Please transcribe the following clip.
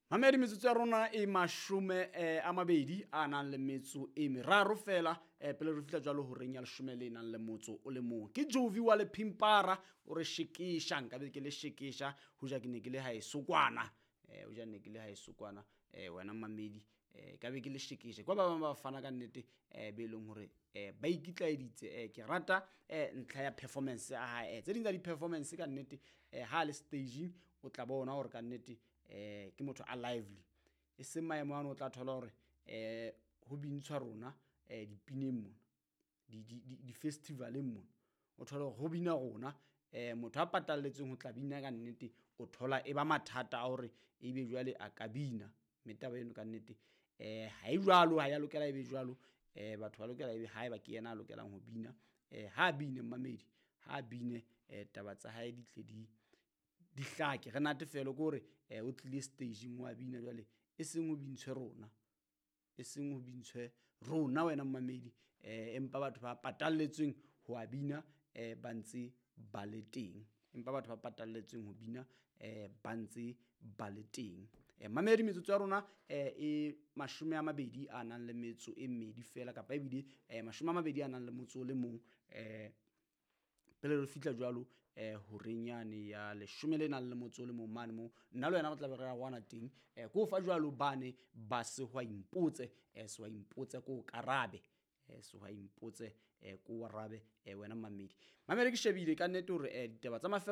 Mamedi, metsotso ya rona e mashome a mabedi a nang le metso e meraro fela pele re fihla jwalo horeng ya leshome le nang le motso o le mong. Ke Jovi wa Lephimpara o re shekesha, nkabe ke le shekesha hoja ke ne ke le haeso kwana. Hoja ne ke le haeso kwana wena mamedi ka be ke le shekesha. Kwa ba bang ba fana ka nnete be leng hore ba ikitlaeditse. Ke rata ntlha ya performance ya hae. Tse ding tsa di-performance ka nnete ha le staging o tla bona hore ka nnete ke motho a lively, e seng maemo ano o tla thola hore ho bintshwa rona dipineng mona, di-festival-eng mona, o thole hore ho bina rona, motho a patalletsweng ho tla bina ka nnete o thola e ba mathata a hore ebe jwale a ka bina. Mme taba eno ka nnete ha e jwalo, ha ya lokela e be jwalo. Batho ba lokela ebe haeba ke yena a lokelang ho bina, ha bine mmamedi, ha bine taba tsa hae di tle di hlake, re natefelwe ke hore o tlile staging wa bina jwale, e seng ho bintshwe rona, e seng ho bintshwe rona wena mmamedi, empa batho ba patalletsweng ho a bina ba ntse ba le teng, empa batho ba patalletsweng ho bina ba ntse ba le teng. Mamedi, metsotso ya rona e 20 a nang le metso e mmedi fela, kapa ebile 20 a nang le motso o le mong pele re fihla jwalo horeng yane ya leshome le nang le motso o le mong mane moo nna le wena re tlabe re arohana teng. Ke o fa jwalo bane ba Sehwai Mpotse, Sehwai Mpotse ko karabe, Sehwai Mpotse ko arabe wena mamedi. Mamedi, ke shebile ka nnete hore ditaba tsa mafelo.